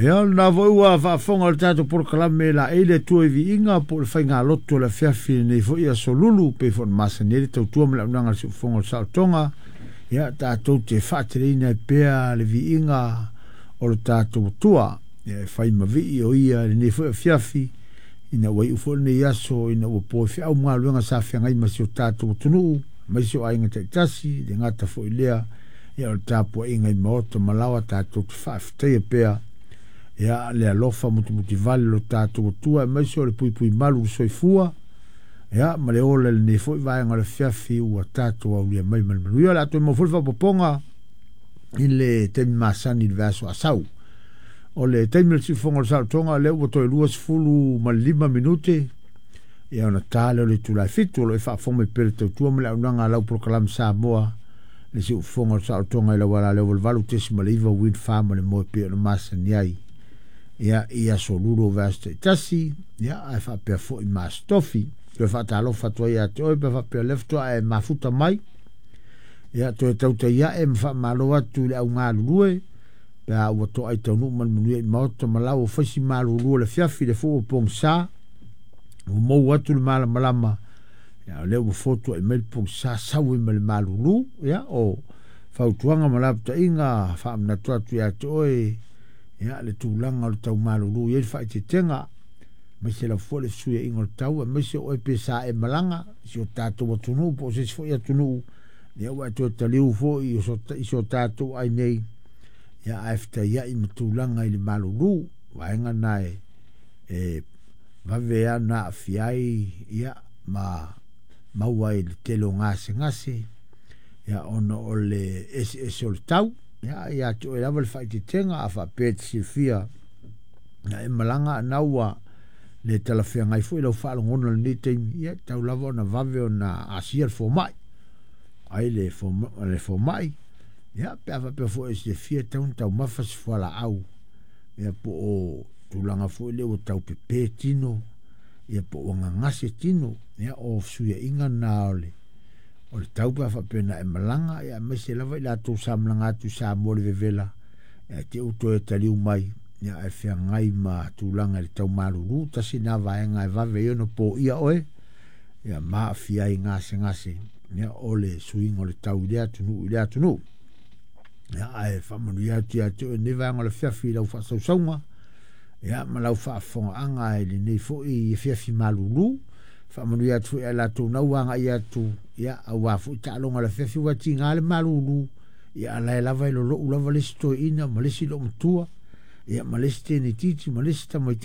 Ia, o lena foi ua faafofoga i le tatou polokalame laei le Atua i viiga po o le faigalotu o le afiafi i lenei foi aso Lulu, pei foi ona masani ai le tautua ma le auaunaga a le Siufofoga o le Saolotoga. Ia, tatou te faateleina ai pea le viiga o le tatou Atua, ia, e fai ma vii o ia i lenei foi afiafi, ina ua iu foi lenei aso ina ua po i feau ma galuega sa feagai ma si o tatou atunuu, aemaise o aiga taitasi, le gata foi lea, ia o le tapuaiga i maota ma laoa tatou te faafetaia pea ia le alofa mutimutivale o lo tatou Atua, aemaise o le puipui malu i le soifua ia ma le ola i lenei foi vaega o le afiafi ua tatou aulia mai ma le manuia. O le a toe maua foi le faaopoopoga i le taimi masani i le vaiaso a sau. O le taimi o le siufofoga o le saolotoga, lea ua toe 25 minute ia ona ta lea o le itula e 7. O lo o faafofoga mai pea le tautua ma le auaunaga a lau polokalame Samoa, le siufofoga o le saolotoga i lau ala leo 88.9 Wind Farm ma le moe pei ona masani ai ia i aso Lulu o vaiaso taitasi, ia ae faapea foi ma Aso Tofi. Toe faatalofa atu ai ia te oe pe faapea o lea faatoa e mafuta mai, ia toe tautai ae ma faamalo atu i le au galulue pe a ua toai taunuu ma le manuia i maota ma lau o faisi malulu o le afiafi le fua o pogisa ua mou atu le malamalama, ia o lea ua fotuai mai le pogisa sau ai ma le malulu. Ia o fautuaga ma lapataiga faamanatu atu ia te oe ia le tulaga o le tau malulu i ai le faaeteetega, aemaise lava foi le fesuiaiga o le tau, aemaise o oe pe sa e malaga i si o tatou atunuu po o se isi foi atunuu, ia ua e toe taliu foi i so tatou ai nei, ia ae fetaiai ma tulaga i le malulu. Vaega na e vave ana aafia ai ia ma maua ai le tele o gasegase ia ona o le eseese o le tau. Ia ia te oe lava le faaeteetega a faapea e te silafia ia e malaga ana ua le talafeagai foi lau faalogona i lenei taimi, ia tau lava ona vave ona asia le fomai ai le fomai, ia pe a faapea foi e silafia e tatau ona taumafa se fualaau, ia po o tulaga foi lea ua tau pepe tino, ia po ua gagase tino, ia o fesuiaiga na o le tau pe a faapea na e malaga, ia aemaise lava i latou sa malaga atu i Samoa i le vevela, ia te u toe taliu mai, ia ae feagai ma tulaga i le tau malulu. Tasi na vaega e vave ai ona poia oe, ia ma aafia ai gasegase, ia o le suiga o le tau i lea atunuu i lea atunuu. Ia ae faamanuia atu ia te oe lenei vaega o le afiafi i lau faasausauga, ia ma lau faafofogaaga i lenei foi afiafi malulu. Faamanuia atu foi ia i latou na ua agai atu, ia aua foi taaloga o le afiafi ua tiga le malulu, ia alae lava e lolou lava le isi toeaina ma le isi loomatua, ia ma le isi teneititi ma le isi tamaitiiti.